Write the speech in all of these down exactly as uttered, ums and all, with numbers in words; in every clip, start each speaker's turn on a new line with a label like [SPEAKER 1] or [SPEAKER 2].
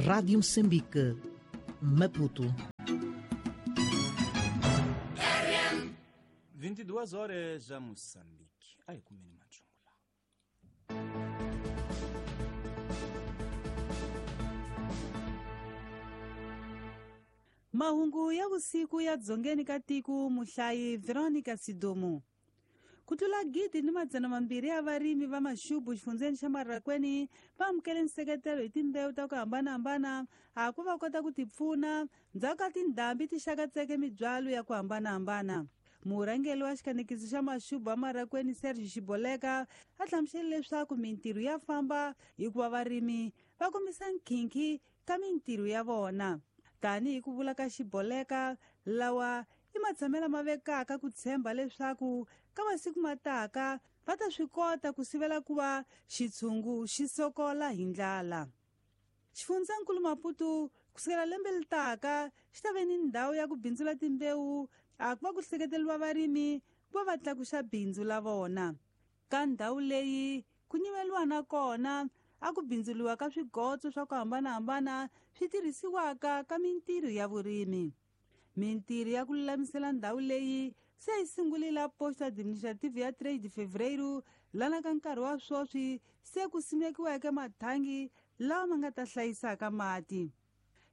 [SPEAKER 1] Rádio Moçambique, Maputo.
[SPEAKER 2] vinte e duas horas a Moçambique. Ai, kumeni machungula.
[SPEAKER 3] Mahungu ya vusiku ya dzongeni ka tiko muhlayi Veronica Sidomu. Ku tlula gidi ni madzana mambirhi ya varimi va maxubu xifundzeni xa Marrakweni va amukele nseketelo hi timbewu ta ku hambanahambana a ku va kota ku tipfuna ndzhaku ka tindhambi ti xakatseke mibyalo ya ku hambanahambana. Murhangeri wa xikanekiso xa maxubu wa Marrakweni Serge Xiboleka a hlamusele leswaku mintirho ya famba hikuva varimi va kombisa nkhinkhi ka mintirho ya vona. Tanihi ku vula ka Xiboleka, lawa i matshamelo ma vekaka ku tshemba leswaku ka masiku mataka va ta swi kota ku sivela ku va xitshungu xi sokola hi ndlala. Xifundzankulu Maputo kusukela lembe leri taka xi ta ve ni ndhawu ya ku bindzula timbewu a ku va ku hleketeriwa varimi ku va va tlakuxa bindzu la vona. Ka ndhawu leyi ku nyimeliwa na kona a ku bindzuliwa ka swigotso swa ku hambanahambana swi tirhisiwaka ka mintirho ya vurimi. Mintirho ya ku lulamisela ndhawu leyi se yi sungurile posto administrative ya três de fevereiro lana ka nkarhi wa sweswi se ku simekiweke mathangi lawa ma nga ta hlayisaka mati.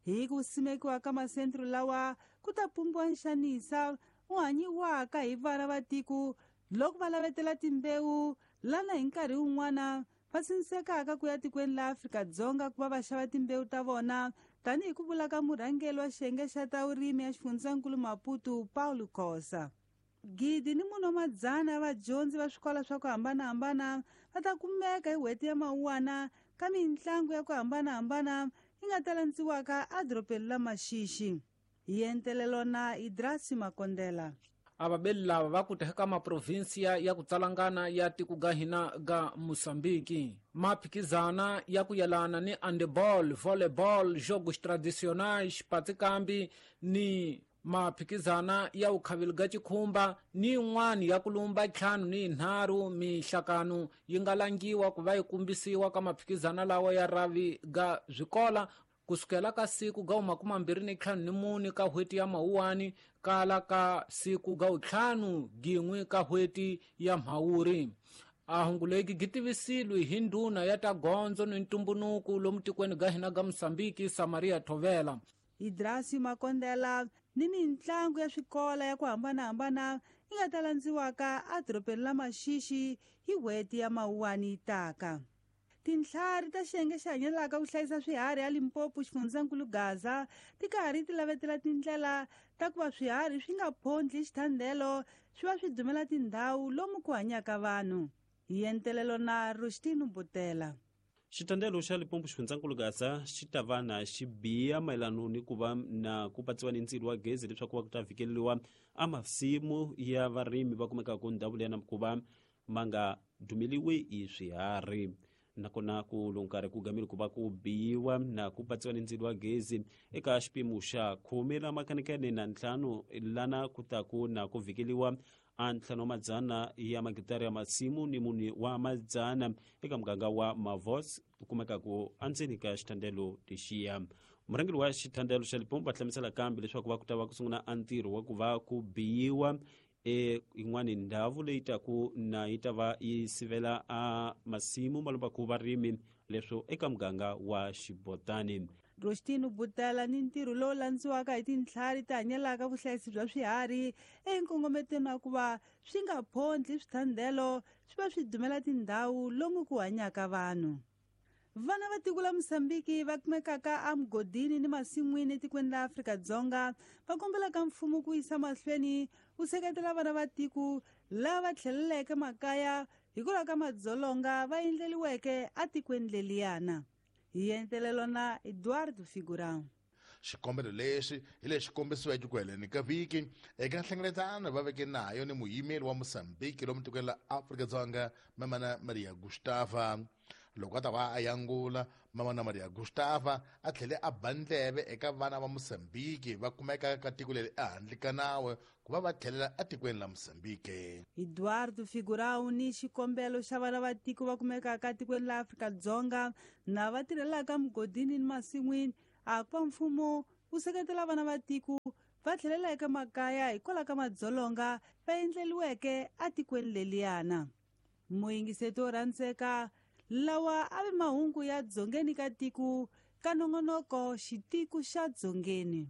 [SPEAKER 3] Hi ku simekiwa ka masentro lawa ku ta pumbiwa nxanisa wu hanyiwaka hi vana va tiko loko va lavetela timbewu lana hi nkarhi wun'wana va sindzekaka ku ya tikweni la Afrika-Dzonga ku va va xava timbewu ta vona, tanihi ku vula ka murhangeri wa xiyenge xa ta vurimi ya xifundzankulu Maputo Paulo Khosa. Gidi ni mune wa madzana ya vadyondzi va swikolo swa ku hambanahambana va ta kumeka hi n'hweti ya Mawuwana ka mitlangu ya ku hambanahambana yi nga ta landziwaka edorobeni la Maxixi. Hi entelelo na Idrasi Makondela.
[SPEAKER 4] Avabeli lava va ku teka maprovinsia ya ku tsalangana ya tiko ga hina ga Moçambique. Maphikizana ya ku yelana ni handball, volleyball, jogos tradicionais, patikambi ni maphikizana ya ukhavili ga chikhumba ni yin'wana ya kulumba ntlhanu ni yinharhu mihlakano yi nga langiwa ku va yi kumbisiwa ka maphikizana lawa ya ravi ga swikola kusukela ka siku ga makumi mambirhi ni ntlhanu ni mune ka n'hweti ya Mawuwani kala ka siku ga ntlhanu gin'we ka n'hweti ya Mhawuri. A hungu legi gi tivisilwe hi ndhuna ya ta gondzo ni ntumbunuku lomu tikweni ga hina ga Moçambique Samaria Thovela.
[SPEAKER 3] Idrasi Makondela ni mitlangu ya swikola ya ku hambanahambana yi nga ta landziwaka edorobeni la Maxixi hi n'hweti ya Mawuwani yi taka. Tintlhari ta xiyenge xi hanyelaka ku hlayisa swiharhi ya Limpopo xifundzankulu Gaza ti karhi ti lavetela tindlela ta ku va swiharhi swi nga phondli xithandelo swi va swi dumela tindhawu lomu ku hanyaka vanhu. Hi entelelo na Rustino Butela.
[SPEAKER 5] Xitandelo xa Limpopo xifundzankulu Gaza xi ta va na xibiya mayelano ni ku va na ku patsiwa ni ndzilo wa gezi leswaku va ku ta vhikeliwa a masimu ya varimi va kumekaka ndhawu leyi na ku va ma nga dumeliwi hi swiharhi. Nakona ku loko nkarhi ku gamile ku va ku biyiwa na ku patsiwa ni ndzilo wa gezi eka xipimo xa khume ra makanekene na ntlhanu lana ku ta ku na ku vhikeliwa a ntlhanu wa madzana ya magitara ya masimu ni mune wa madzana eka muganga wa Mavos ku kumekaku endzeni ka xitandelo lexiya. Murhangeri wa xitandelo xa Limpopo va hlamusela kambe leswaku va ku ta va ku sungula a ntirho wa ku va ku biyiwa e yin'wani ndhawu leyi taku na yi ta va yi sivela a masimu malomba ku varimi leswo eka muganga wa Xibotani.
[SPEAKER 3] Rostino Butela ni ntirho lowu landziwaka hi tintlhari ti hanyelaka vuhlayisi bya swiharhi enkongometweni wa ku va swi nga phondli swithandelo swi va swi dumela tindhawu lomu ku hanyaka vanhu. Vana va tiko la Moçambique va kumekaka emugodini ni masin'wini etikweni la Afrika-Dzonga va kombelaka mfumo ku yisa mahlweni wu seketela vana va tiko lava tlheleleke makaya hikwalaho ka madzolonga va endleliweke etikweni leliyana. Hi entelelo na Eduardo Figurão.
[SPEAKER 6] Xikombelo lexi hi lexi kombisiweke ku heleni ka vhiki eka nhlengeletano va veke nayo ni muyimeri wa Moçambique lomu tikweni la Afrika-Dzonga Mamana Maria Gustava. Loko a ta va a yangula Mamana Maria Gustava a tlhele a ba ndleve eka vana va Mozambique va kumeka ka tiko leri ehandle ka nawu ku va va tlhelela etikweni la Mozambique.
[SPEAKER 3] Eduardo Figurão ni xikombelo xa vana va tiko va kumekaka tikweni la Afrika-Dzonga na va tirhelaka mugodini ni masin'wini a ku va mfumo wu seketela vana va tiko va tlhelela eka makaya hikwalaho ka madzolonga va endleliweke etikweni leliyana. Muyingiseti wo rhandzeka, lawa a vi mahungu ya dzongeni ka tiko ka nongonoko xitiko xa dzongeni.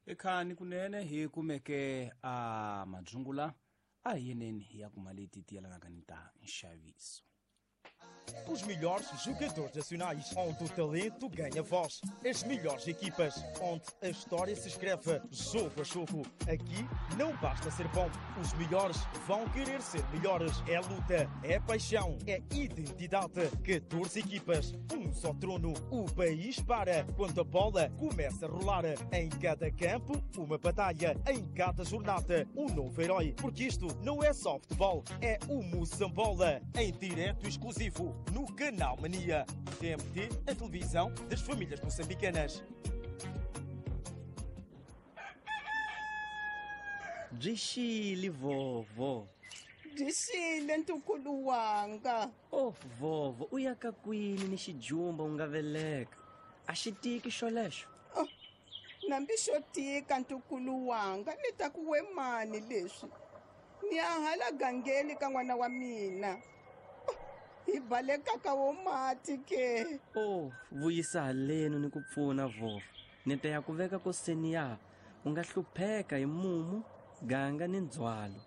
[SPEAKER 2] Ekhani kunene hi kumeke a madzungula a hi yeneni ya kuma leti ti yelanaka ni ta nxaviso.
[SPEAKER 7] Os melhores jogadores nacionais, onde o talento ganha voz. As melhores equipas, onde a história se escreve jogo a jogo. Aqui não basta ser bom, os melhores vão querer ser melhores. É luta, é paixão, é identidade. catorze equipas, um só trono. O país para quando a bola começa a rolar. Em cada campo, uma batalha. Em cada jornada, um novo herói. Porque isto não é só futebol, é o Moçambola. Em direto exclusivo no Canal Mania. T M T, a televisão das famílias moçambicanas.
[SPEAKER 8] Byi vovo.
[SPEAKER 9] Byi ntukulu wanga.
[SPEAKER 8] Oh vovo, u ya ka kwini ni xijumba u nga veleka? A xi tiki xolexo.
[SPEAKER 9] Oh, nambi xo tika ntukulu wanga, ni ta ku we mani leswi. Ni a hala gangeni ka n'wana wa mina. Hi baleka ka wo mati ke.
[SPEAKER 8] Oh, vuyisa haleno ni ku pfuna vovo. Ni ta ya ku veka koseni ya u nga hlupheka hi mumu, ganga ni ndzhwalo.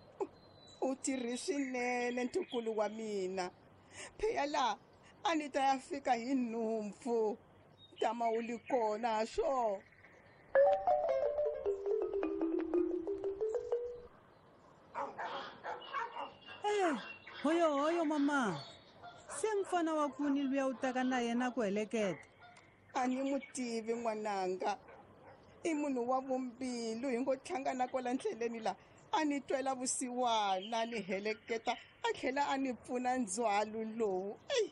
[SPEAKER 9] U tirhi swinene ntukulu wa mina. Phela la a ni ta ya fika hi nhumpfu. Tama u li kona swo.
[SPEAKER 3] Eh, hoyo hoyo mama. Se mfana wa kuni luya u taka na yena ku heleketa.
[SPEAKER 9] A ni mu tivi n'wananga. I munhu wa vumbilu hi ngo hlangana kwala ndleleni la. A ni twela vusiwana ni heleketa a tlhela a ni pfuna ndzhwalo lowu. Ey,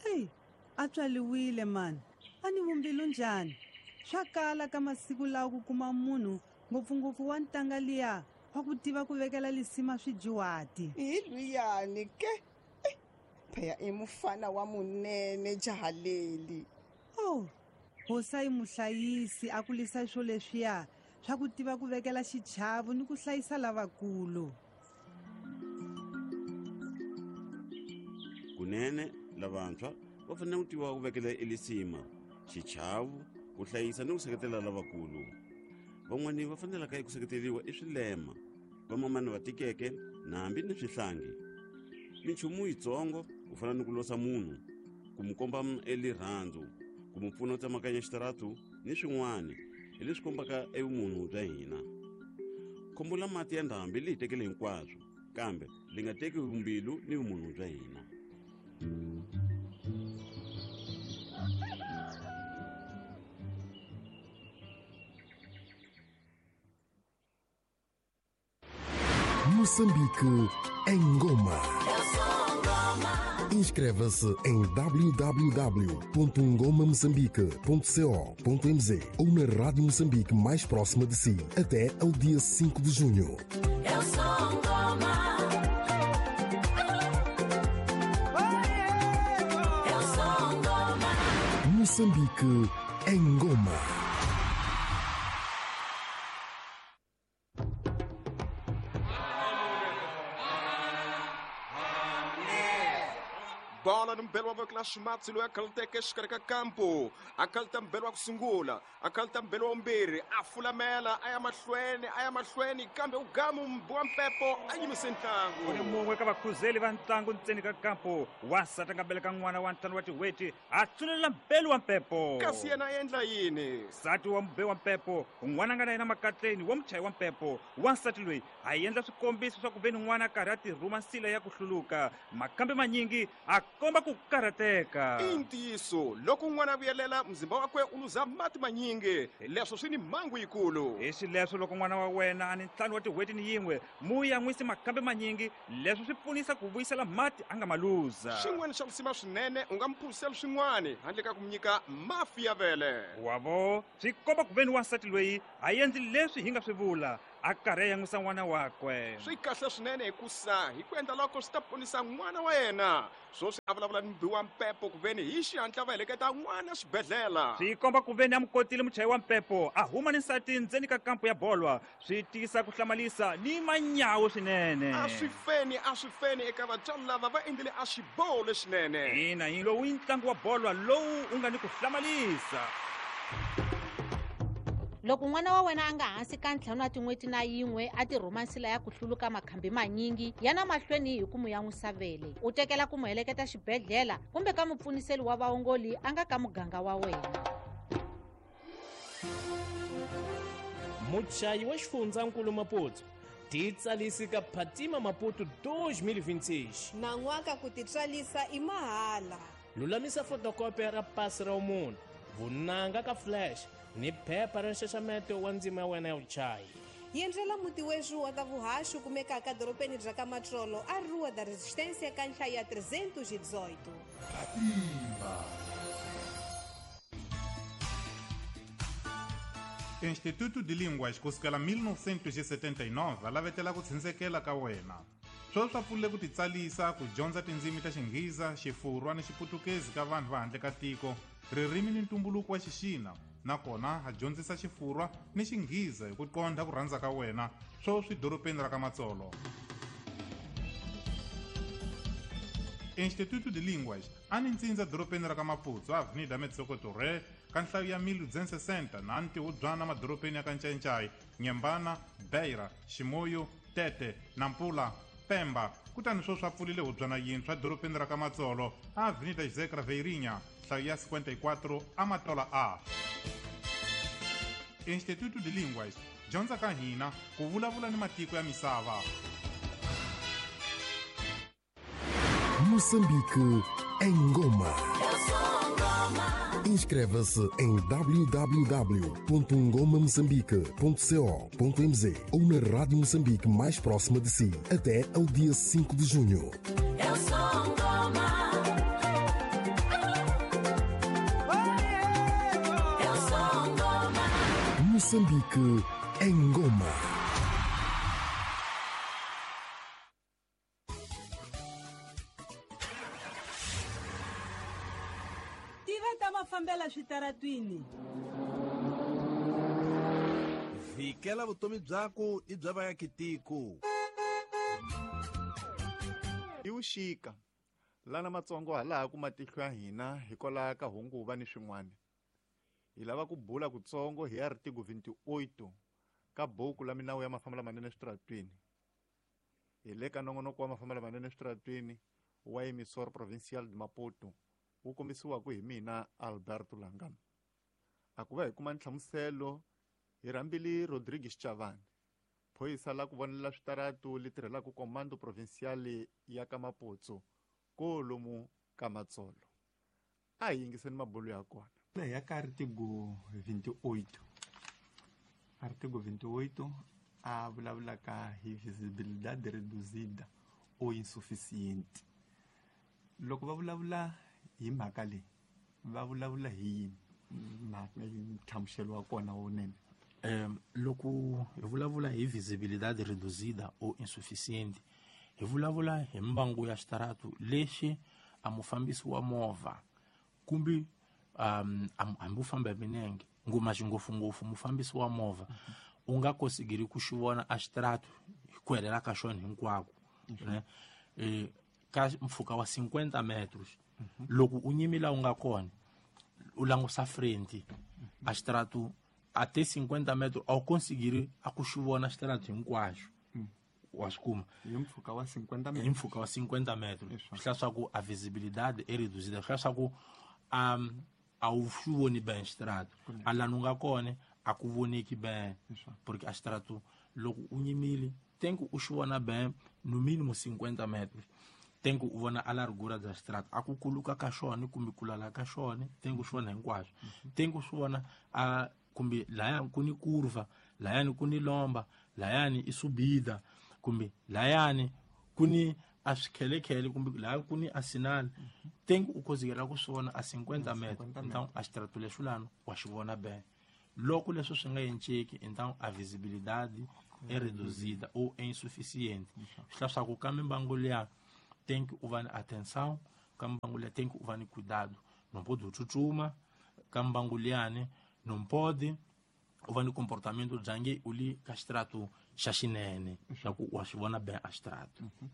[SPEAKER 3] ey, a tswaliwile mani. A ni vumbilu njhani? Swa kala ka masiku lawa ku kuma munhu ngopfungopfu wa ntanga liya wa ku tiva ku vekela lisima swijuwati.
[SPEAKER 9] Hi luyani ke. Phela i mufana wa munene jahaleli.
[SPEAKER 3] Oh, hosa i muhlayisi a kulisa swo leswiya swa ku tiva ku vekela xichavo ni ku hlayisa lavakulu.
[SPEAKER 10] Kunene lavantshwa va fanele ku tiva ku vekela elisima, xichavo, ku hlayisa ni ku seketela lavakulu. Van'wani va fanelaka eku seketeriwa i swilema, vamamani va tikeke na hambi ni swihlangi. Minchumu yitsongo ku fana ni ku losa munhu, ku mu komba elirhandzu, ku mu pfuna u tsemakanya xitaratu ni swin'wana hi leswi kombaka evumunhu bya hina. Khombo la mati ya ndhambi li hi tekele hinkwaswo, kambe li nga teki vumbilu ni vumunhu bya hina.
[SPEAKER 11] Moçambique em Goma. Inscreva-se em w w w ponto ngoma moçambique ponto co ponto m z ou na Rádio Moçambique mais próxima de si até ao dia cinco de junho.
[SPEAKER 12] Eu sou Ngoma. Eu sou Ngoma.
[SPEAKER 11] Moçambique em Goma.
[SPEAKER 13] Bola nombelwa vekela ximatsi loyi a khaluteke exikarhi ka kampo a khaluta mbelwa ku sungula a khaluta mbelwa wumbirhi a fulamela a ya mahlweni a ya mahlweni kambe u gamu wa mpepo a yimise ntlangu.
[SPEAKER 14] U ni mun'we ka vakhuzeli va ntlangu ntseni ka kampo wansati a nga beleka n'wana wa ntlhanu wa tin'hweti a tsunelela mbelu wa mpepo.
[SPEAKER 13] Kasi yena a endla yini?
[SPEAKER 14] Nsati wa mube wa mpepo n'wana a nga na yena makatleni wa muchayi wa mpepo wansati loyi a endla swikombiso swa ku ve ni n'wana a karhi a tirhuma nsila ya ku hluluka makambe manyingi a komba ku karhateka.
[SPEAKER 13] I ntiyiso, loko n'wana a vuyelela muzimba wakwe u luza mati manyingi, leswo swi ni mhangu yikulu.
[SPEAKER 14] Hi xileswo loko n'wana wa wena a ni ntlhanu wa tin'hweti ni yin'we, mu yan'wisi makhambi manyingi, leswo swi pfunisa ku vuyisela mati a nga ma luza.
[SPEAKER 13] Xin'wana xa risima swinene, u nga mu phuzisela swin'wana handle ka ku mu nyika mafi ya vele.
[SPEAKER 14] Wavo, swi komba ku veni wansati loyi a endli leswi hi nga swi vula, a karhi a yan'wisa n'wana wakwe.
[SPEAKER 13] Swi kahle swinene hikusa hi ku endla loko swi ta ponisa n'wana wa yena. Swoswi a vulavula ni mubi wa mpepo ku veni hi xihatla va heleketa n'wana xibedhlele.
[SPEAKER 14] Swi komba ku veni a mu kotile muchayi wa mpepo a huma ni nsati ndzeni ka kampo ya bolwa. Swi tiyisa ku hlamalisa ni manyawo swinene.
[SPEAKER 13] A swi feni, a swi feni eka vatswari lava va endlile a xiboho lexinene.
[SPEAKER 14] Ina, hi lowu i ntlangu wa bolwa lowu u nga ni ku hlamalisa.
[SPEAKER 15] Loko n'wana wa wena a nga hansi ka ntlhanu wa tin'hweti na yin'we a ti rhuma nsila ya ku hluluka makhambi manyingi, yana mahlweni hi ku mu yan'wisa vele. U tekela ku mu heleketa xibedhlele kumbe ka mupfuniseli wa vaongoli a nga ka muganga wa wena.
[SPEAKER 16] Muchayi wa xifundzankulu Maputo, titsalisi ka Phatima Maputo dois mil e vinte e seis.
[SPEAKER 17] Nan'waka ku titswalisa i mahala.
[SPEAKER 16] Lulamisa fotokopia ra pasi ra munhu, vunanga ka flash ni phepha ra nxaxameto wa ndzima ya wena ya vuchayi.
[SPEAKER 17] Yendlela muti wexu wa ta vuhaxi kumekaka dorobeni bya ka Matsolo a Rua da Resistência ka nhlayo ya trezentos e dezoito.
[SPEAKER 18] Instituto de Línguas kusukela mil novecentos e setenta e nove a lavetela ku tshundzekela ka wena. Sweswi swa pfunile ku titsalisa ku dyondza tindzimi ta Xinghiza, Xifurwa ni Xiputukezi ka vanhu va handle ka tiko, ririmi ni ntumbuluko wa Xixina, nakona a dyondzisa Xifurwa ni Xinghiza hi ku qondha ku rhandza ka wena, sweswi dorobeni ra ka Matsolo. Instituto de Línguas a ni ntsindza dorobeni ra ka Maputo, Avenida Metsoko Torre, ka nhlayo ya mil duzentos e sessenta na ntihubyana madorobeni ya ka Ncayincai, Nyembana, Beira, Ximoyo, Tete, Nampula, Pemba. Kutani sweswi a pfulile hubyana yintshwa dorobeni ra ka Matsolo, Avenida José Craveirinha, nhlayo ya cinquenta e quatro, Amatola A. Instituto de Línguas, dyondza ka hina ku vulavula ni matiko ya misava.
[SPEAKER 11] Moçambique em Goma. Inscreva-se em w w w ponto ngoma moçambique ponto co ponto m z ou na Rádio Moçambique mais próxima de si até ao dia cinco de junho.
[SPEAKER 12] Eu sou Ngoma. Eu sou Ngoma.
[SPEAKER 11] Moçambique em Goma.
[SPEAKER 3] Fambela switaratwini.
[SPEAKER 19] Vikela vutomi byako i bya vaakitiko.
[SPEAKER 20] I vuxika lana matsongo halaha ku matihlo ya hina hikwalaho ka hunguva ni swin'wana. Hi lava ku bula kutsongo hi artigo vinte e oito ka buku la minawu ya mafambelo lamanene eswitaratwini. Hi le ka nongonoko wa mafambelo lamanene eswitaratwini wa Emissora Provincial de Maputo, wu kombisiwaka hi mina Alberto Langano. A ku va hi kuma nhlamuselo hi rhambile Rodrigues Chavani, phorisa la ku vonela switaratu li tirhelaka Comando Provincial ya ka Maputo kolomu ka Matsolo. A hi yingiseni mabulo ya kona.
[SPEAKER 21] Ya ka artigo vinte e oito. Artigo vinte e oito a vulavulaka hi visibilidade reduzida ou insuficiente. Loko va vulavula hi mhaka leyi, va vulavula hi yini? Nhlamuselo wa kona wunene.
[SPEAKER 22] Um, loko hi vulavula hi visibilidade reduzida ou insuficiente, hi vulavula hi mbangu ya xitaratu lexi a mufambisi wa movha kumbe um, hambi u famba hi milenge, ngoma ngopfungopfu mufambisi wa movha u nga kosigiri ku xi vona a xitaratu hi ku helela ka xona hinkwako, ne? E, ka mpfhuka wa cinquenta metros. Loko u nyimila u nga kona u langusa frente a xitaratu até cinquenta metros a wu konsigiri a ku xi vona xitaratu hinkwaxo. Wa swi kuma
[SPEAKER 21] hi mpfhuka wa cinquenta metros.
[SPEAKER 22] Hi mpfhuka wa cinquenta metros. Swi hlaya swa ku a visibilidade e reduzida, swi hlaya swa ku um, a wu xi voni ben xitaratu a lani u nga kona a ku voneki ben, porque a xitaratu loko u nyimile tem que u xi vona ben no mínimo cinquenta metros. Tem ku vona a largura da estrada, a ku kuluka ka xona kumbe ku lala ka xona, tem ku swi vona hinkwaswo. Tem ku swi vona a kumbe layani ku ni curva, layani ku ni lomba, layani i subida, kumbe layani ku ni a swikhelekhele kumbe layani ku ni a sinal. Tem ku u kozikela ku swi vona a cinquenta metros. Então a estrada lexo lano wa xi vona bem. Loko leswo swi nga enceki, então a visibilidade é reduzida ou é insuficiente. Swi hlaya swa ku ka mimbangu liya tem que uvar atenção, kambangulia tem que uvar cuidado. Não pode tchutchuma, kambanguliane, não pode uvar comportamento jangue uli castrato xaxinene, já que o achivona bem astrato.
[SPEAKER 21] Uhum.